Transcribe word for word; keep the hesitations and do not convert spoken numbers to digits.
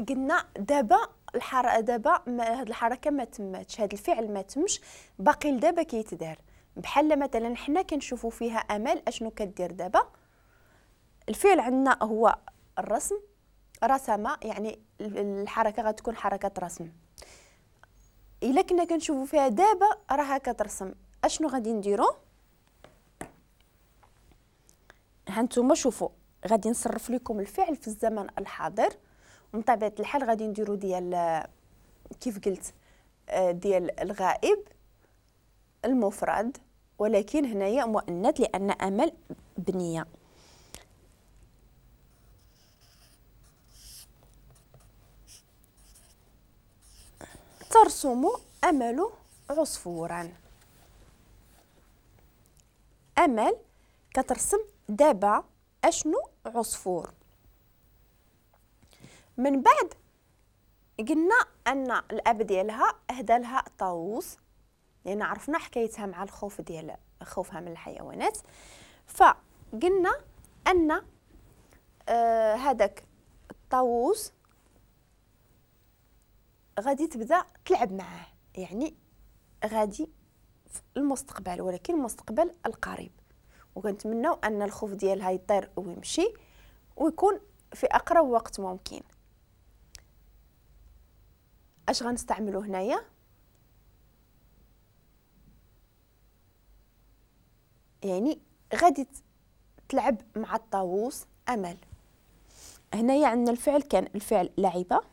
قلنا دابا الحركة دابا هاد الحركة ما تماتش، هاد الفعل ما تمش، باقي لدابا كيتدار. بحال مثلا حنا كنشوفوا فيها امل اشنو كدير دابا. الفعل عندنا هو الرسم، رسم، يعني الحركة غتكون حركة رسم. الا كنا كنشوفوا فيها دابا راها كترسم، اشنو غادي نديرو؟ هانتوما شوفوا غادي نصرف لكم الفعل في الزمن الحاضر، ومن طبيعة الحال غادي نديرو ديال كيف قلت ديال الغائب المفرد، ولكن هنايا مؤنث لان امل بنيه. ترسم امل عصفورا. امل كترسم دابا اشنو؟ عصفور. من بعد قلنا ان الاب ديالها اهدى لها طاووس، لان عرفنا حكايتها مع الخوف ديال خوفها من الحيوانات. فقلنا ان آه هذاك الطاووس غادي تبدا تلعب معاه، يعني غادي في المستقبل، ولكن المستقبل القريب. وكنتمناو ان الخوف ديالها يطير ويمشي ويكون في اقرب وقت ممكن. اش غنستعملو هنايا؟ يعني غادي تلعب مع الطاووس امل. هنايا عندنا الفعل كان الفعل لعب،